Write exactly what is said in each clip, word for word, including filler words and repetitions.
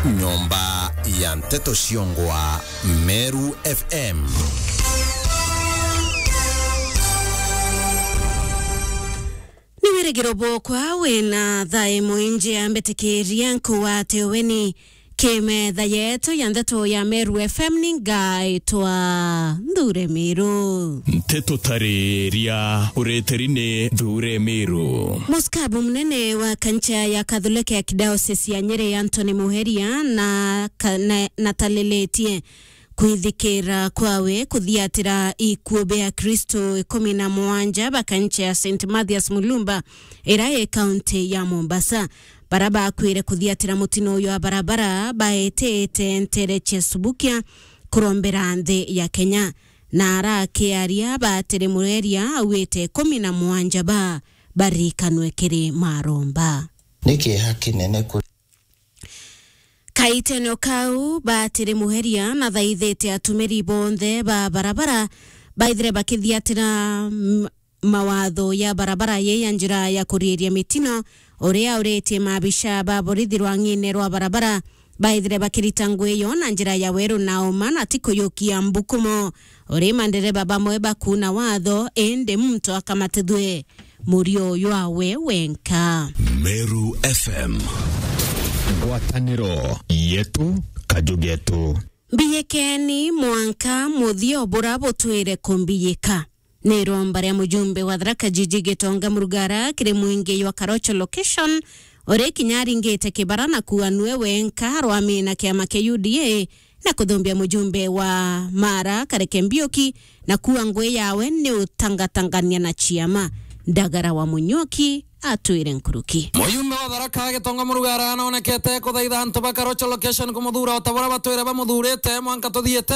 Nyomba ya nteto ciongwa Meru F M. Ni wirigiro bwokwa wina thae mwingi, ambitikiria nkuwate weni ki metha yetu ya nteto ya Meru F M. Ni ngaitwa Nthure Miru. Nteto tariria ureteri ni Nthure Miru. Muskabu munene wa kancha ya Kathuleke ya Kidiocese ya Nyeri, Anthony Muheria, na ka-, na, natalilitie kwithikira kwawe kuthiatira ikuu bia Akristo ikumi na mugwanja ba kancha ya Saint Mathias Mulumba, ira i kaunti ya Mombasa. Bara bakwire kuthiatira mutino uyu wa barabara baetete ntere cia Subukia kurombera nthi ya Kenya, na arakiaria batiri Muheria augite ikumi na mugwanja ba barikanwe kiri maromba. Ni kieha kinene kuri Kaitene o kau, batiri Muheria nathaithite atumiri bonthe ba barabara baithire bakithiatira, m-, mawatho ya barabara ye ya njira ya kuriiria mitino, uria auritie maabisha ba borithi rwang'ine rwa barabara baithire bakirita ngugi yo na njira ya weru na uma na ti kuyukia mbukumo. Uri mandereba bamwe bakuuna watho, indi muntu akamatithwe murio jwawe wenka. Meru F M. Ngwataniro yetu, kaju getu. Mbiyikeni mwanka muthia bura butwire kumbiyika. Ni iromba ria mujumbe wa Tharaka Jiji Gitonga Murugara kiri mwingi jwa Karocho location, uri kinya aringite kibara na kuuga nue wenka arwamina kiama kia U D A, na kuthumbia mujumbe wa Mara Kareke Mbiuki na kuuga ngugi yawe ni utangatangania na ciama. Ndagara wa Munyuki atwire nkuruki. Mujumbe wa Tharaka Gitonga Murugara anaonekete kuthaitha antu ba Karocho location kumuthuura o ta buria batwire bamuthurite mwanka tuthiite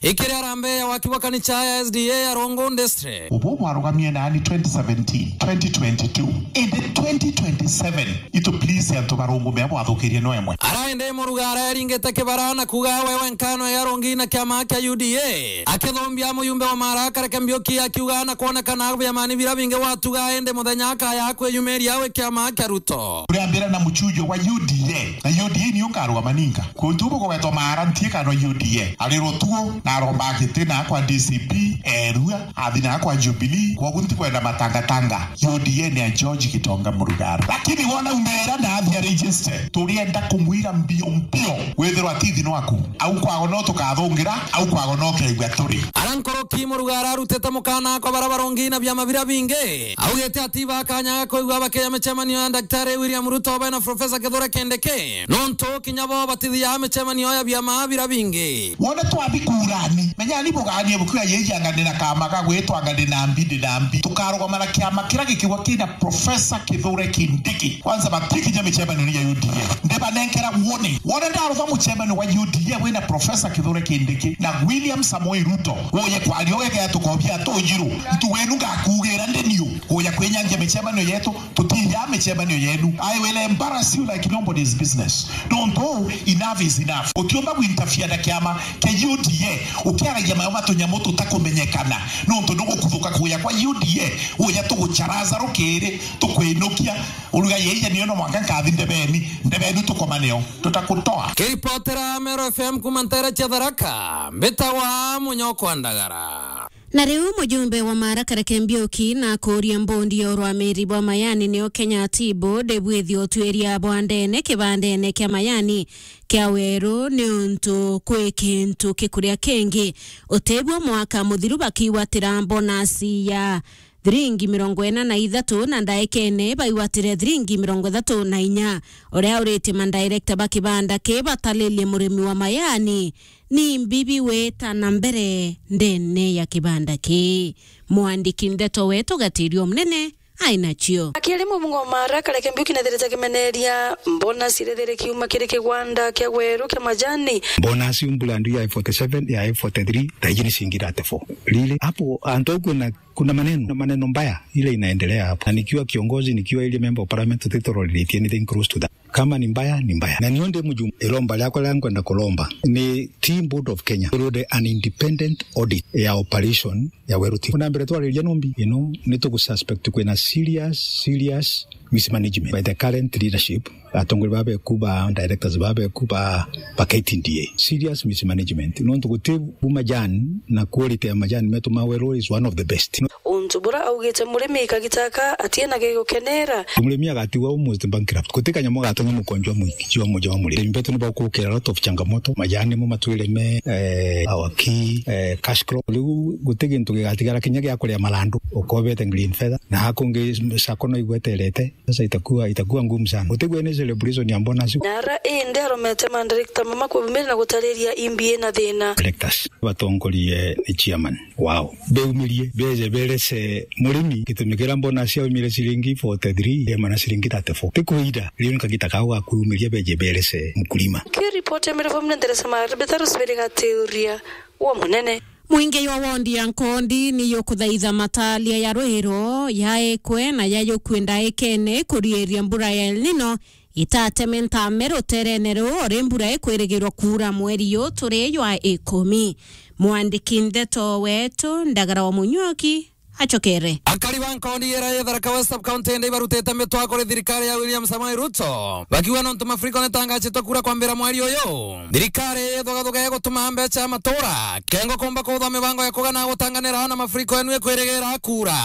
ikiri harambee ya waki bwa kanicha ya S D A ya Rongo District. Ubu bwarugamie naani twenty seventeen, twenty twenty-two, indi twenty twenty-seven itu please antu barungume bwathukirie no emwe. Araende Murugara eringite kibara na kuuga we wenka no yarongi na kiama kia U D A, akithumbia mujumbe wa Mara Kareke Mbiuki akiuga na kwonekana biamani bira bingi watuga, indi muthenya akaya kwiyumiria we kiama kia Ruto. Uriambira na muchujo wa U D A, na U D A niyo nkarugama ninka. Kuntu ubu kugwetwa Mara ntie kana U D A. Ari Rutugu na aromba giti na kwa D C P, erua, athi na kwa Jubilee, kwogu ntikwenda matangatanga. U D A ni ya George Gitonga Murugara. Lakini wona umera na athi a register, turienda kumwira mbio mbio, withirwa atithi nwaku. Au kwago no tukathungira, au kwago no keigua turi. Ara nkoroki Murugara arutite mukana kwa bara barongi na biama bira bingi. Augite ati bakanya kwigua bakiya micemanio ya Daktari William Ruto bae na Professor Kithure Kindiki. Nontu kinya bo batithia micemanio ya biama bira bingi. Wone twathi kurani, menyani buganie bukiuga, "Yei anga ndi na kama ga gwitwa anga ndi na mbi, ndi na mbi." Tukarugama na kiama kiria gikiuga kina Professor Kithure Kindiki. Kwanza batikinya micemanio ya U D A. Ndibanenkera warning. Wone ndaruga mucemanio wa U D A wina Professor Kithure Kindiki na William Samoei Ruto, uye kwaria ugegea tukobia tujiru. Ntu wenu ngakugira ndi niu. Uya kwinyangia micemanio yetu. Tutiya micemanio yenu. I will embarrass you like nobody's business. Nontu enough is enough. Utiumba gwinterfere na kiama kia U D A ukiaragia mayo ma tunyamu tutakumenyekana. Nontu nugukuthuka kuya kwa U D A, uya tugucharaza rukiri, tukwinukia, uruga, "Yeiya niyo no mwanka nkathi ndebeni, ndebeni tukomaneo, tutakutoa." Kiripotera Meru F M kuma ntere cia Tharaka, mbitagwa Munyokwa Ndagara. Na riu mujumbe wa Mara Kareke Mbiuki na kuuria mbondi ya urwamiri bwa Mayani niyo Kenya Tea Board bwithie utwiria bwa ndene kibandene kia Mayani kia Weru niuntu kwi kintu kikuria kingi. Utebua mwaka muthiru bakiwatira bonus ya thiringi mirongo ina na ithatu na ndaikene baiwatire thiringi mirongo ithatu na inya. Uria uritie madirector ba kibanda ki batalilie murimi wa Mayani ni mbibi wita na mbere ndene ya kibanda kii. Mwandiki ndeto wetu Gatirio Mnene ai nacio. Akiaria mubunge wa Mara Kareke Mbiuki nethirite akimeneria mbona cirithire kiuma kiri kigwanda kia Weru kia majani. Mbona ciumbula ndu ya forty seven, ya forty three, thaiji ni cingi thirty four. Lile hapo antu au kuna, kuna maneno, maneno mbaya ile inaendelea hapo. Na nikiwa kiongozi, nikiwa ile member of parliament, tutiroreletie anything close to that. Kama ni mbaya, ni mbaya. Na nio ndi mujumbe, iromba riakwa riria nkwenda kuromba ni Tea Board of Kenya irute an independent audit ya operation ya Weru Tea. Kuna mbere twariria nombi, you know, ni tugususpect kwina serious, serious mismanagement by the current leadership, atongori babeku ba directors babeku ba, ba K T D A. Serious mismanagement. Nontu guti bu majani na quality ya majani metu ma Weru is one of the best. Untu bura augite murimi kagitaka atie na gigukenera. Murimi agatigwa almost bankrupt. Guti kanyamu gatonya mukonjwa mwiki, jwa muja wa murimi. Mbetu ni bagukira a lot of changamoto. Majani mo matwire me, eh, our key, eh, cash crop. Riu guti gintu gigatigara kinya gia kuria marandu. Ukobete green feather. Na hakungi sako no igweterete. Sasa itakuwa, itakuwa ngumu sana. Gutigwe ni celebration ya bonus. Nara indi aromete mandirector mama kwibumira na gutariria imbi ina thina. Directors batongorie ni chairman wao. Beumirie, beje berese murimi gitumi kiria bonus yaumire ciringi forty-three, yema na ciringi thirty-four. Ti kuira, riu ni kagita kao ga kwiumiria beje berese mkulima. Kiripoti ya Mirivo Mnenderesa Maribeta Rusiberi Gatiuria wa Munene. Mwingi jwa wondi ya Nkondi ni yukuthaitha matalia ya rwiro yaekwe na yayukue ndaikene kurieria mbura ya El Nino itateme ntame ruterene ruu uri mbura ikwirigirwa kuura mweri yu turi jwa ikumi. Mwandiki ndeto wetu Ndagara wa Munyuki acokere. Akari ba Nkondi ira ya Tharaka West Sub-County indi ibarutite mitwa kuri thirikari ya William Samoei Ruto, bakiuga nontu mafuriko nitangacitwe kuura kwambira mweri uyu, thirikari ithugathuga igutuma mbeca ya matura kengo kumba kuthwa mibango ya kugana gutanganira na mafuriko enu ikwirigira kuura.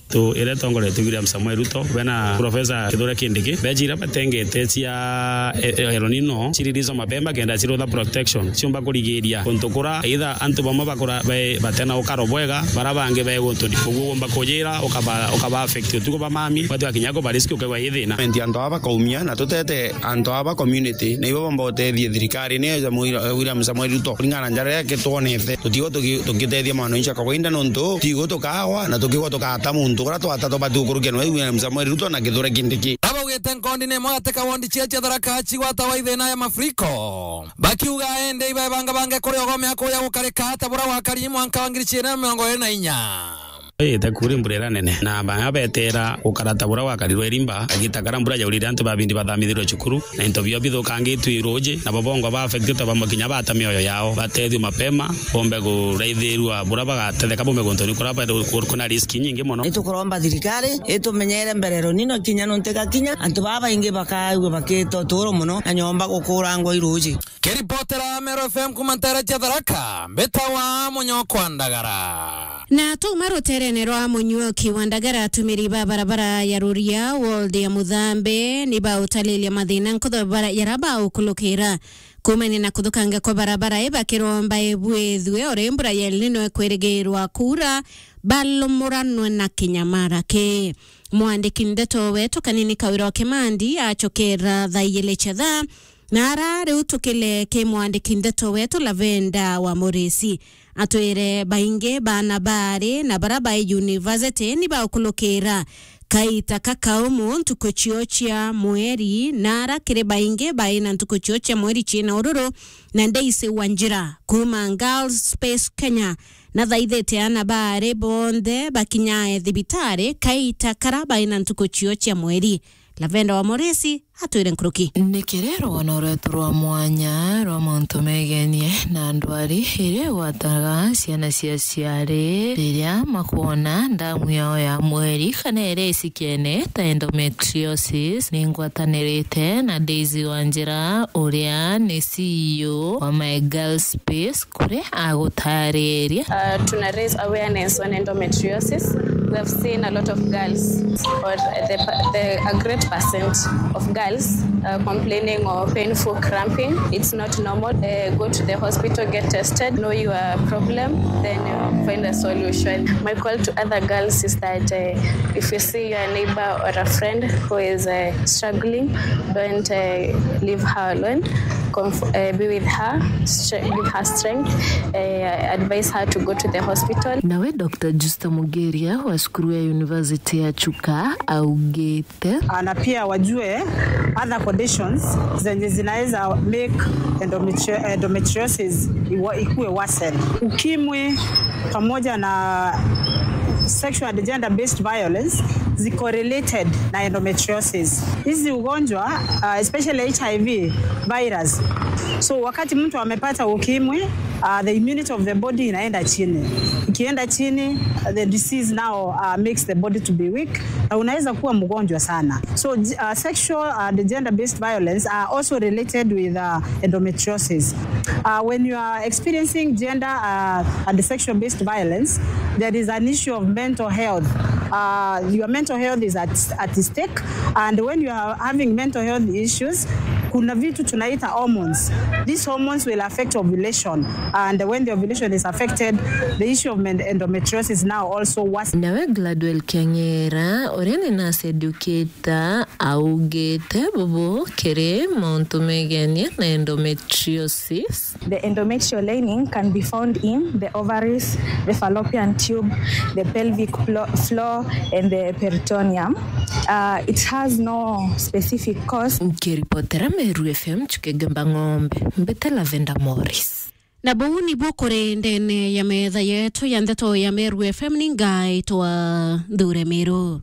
Tu ira itongoretue William Samoei Ruto, bena Professor Kithure Kindiki, mbeca ira batengete cia e-, e-, El Nino, ciririzo mapema kenda cirutha protection, ciumba kurigiria kuntu kura either antu bamwe bakura be-, batena ukaro bwega, bara bangi be guntu ni. Koguo womba kujira, ukaba, ukaba affect utuku ba mami, batu akinya kuba risk ukegwa i thina. Antu aba bakaumia, na tutete antu aba community, na ibo bomba utethie thirikari, ni ya Samoei, William Samoei Ruto. Kuringana na njara iria kitwonete, tutigo tuki-, tukitethia mwananchi wa kawaida nontu, tigo tukawa, na tukigwa tukata muntu, kura twata tubati gukurukia nwe William Samoei Ruto na Kithure Kindiki. Abaugite Nkondi ni imwe gati ka wondi cia cia Tharaka cigwatawa i thina ya mafuriko. Bakiuga indi ibaebangabange kuri ogomea kuya gukarika ta bura gwakari mwanka wa ngiri ciiri na mirongo iiri na inya. Ite kuri mbura ira nene, na baa betera gukara ta bura gwakarirwe irimba, agita kara mbura yaurire antu babindi bathamithirwe cukuru, na into bio bithukangitue i ruuji, na bo bongwa ba affected bamwe kinya bata mioyo yao, batethio mapema, bombe kuraithirua bura bagatetheka bombe guntu ni kura ba-, kuna risk nyingi mono. Itukuromba thirikari itumenyere mbere El Nino kinya nontu igakinya, antu baa baingi bakaigua bakita uturo mono na nyomba gukurangwa i ruuji. Kiripotera Meru F M kuma ntere cia Tharaka, mbitawa Munyokwa Ndagara. Na tuma ruterene rwa Munyuoki wa Ndagara, atumiri ba barabara ya Ruria, ward ya Muthambe, ni bautalilia mathina nkutha bara-, yara baukulukira. Kumania na kuthukanga kwa barabara, ibakiromba ibwithue uri mbura ya El Nino ikwirigirwa kuura, balumuranwe na kinyamara ki. Mwandiki ndeto wetu Kanini Kawira wa Kimandi acokera thaa igiri cia thaa, na ara riu tukile ki mwandiki ndeto wetu Lavenda wa Murisi. Atwire baingi bana bari na bara bai university ni baukulukira kaita kakaumu ntuku cio cia mweri, na ara kiri baingi bai na ntuku cio cia mweri ciina ururu, na Daisy Wanjira kuma Girls Space Kenya nathaithite ana baari bonthe bakinyae thibitari kaita kara bai na ntuku cio cia mweri. Lavenda wa Moresi atwire nkuruki. Ni kiri rwono rwetu rwa mwanya rwa mauntu megenie na ndwari iria igwataga ciana cia ciari riria makwona ndamu yao ya mweri kana iria icikiene ta endometriosis. Ni ngwatanirite na Daisy Wanjira, uria ni C E O wa My Girl Space, kuria agutariria. Uh, tuna raise awareness on endometriosis. We have seen a lot of girls, or the, the, a great percent of girls, uh, complaining of painful cramping. It's not normal. Uh, go to the hospital, get tested, know your problem, then, uh, find a solution. My call to other girls is that, uh, if you see your neighbor or a friend who is, uh, struggling, don't, uh, leave her alone. Comf-, uh, be with her, stre-, give her strength, uh, advise her to go to the hospital. Nawe Doctor Justa Mugeria wa cukuru ya University ya Chuka augite, ah, na pia wajue other conditions zenye zinaweza make endometri-, endometriosis iwa-, ikuwe worsen. Ukimwi pamoja na sexual and gender based violence ziko related na endometriosis. Hizi ugonjwa, uh, especially H I V virus. So wakati mtu amepata ukimwi, uh, the immunity of the body inaenda chini. Ikienda chini, the disease now uh, makes the body to be weak, na unaweza kuwa mgonjwa sana. So uh, sexual and gender-based violence are also related with uh, endometriosis. Uh, when you are experiencing gender uh, and sexual-based violence, there is an issue of mental health. Uh, your mental health is at, at stake, and when you are having mental health issues, kuna vitu tunaita hormones. These hormones will affect ovulation, and when the ovulation is affected, the issue of men- endometriosis now also worsens. Nawe Gladwell Kiang'era, uria ni nurse educator, augite bubu kiri mauntu megenie na endometriosis. The endometrial lining can be found in the ovaries, the fallopian tube, the pelvic plo- floor, and the peritoneum. Uh, it has no specific cause. Nkiripotera Meru F M, Chuke Gemba Ng'ombe, mbite Lavender Morris. Na buu nibuo kuri ndene ya metha yetu ya ndeto ya Meru F M, ni ngaitwa Nthure Miru.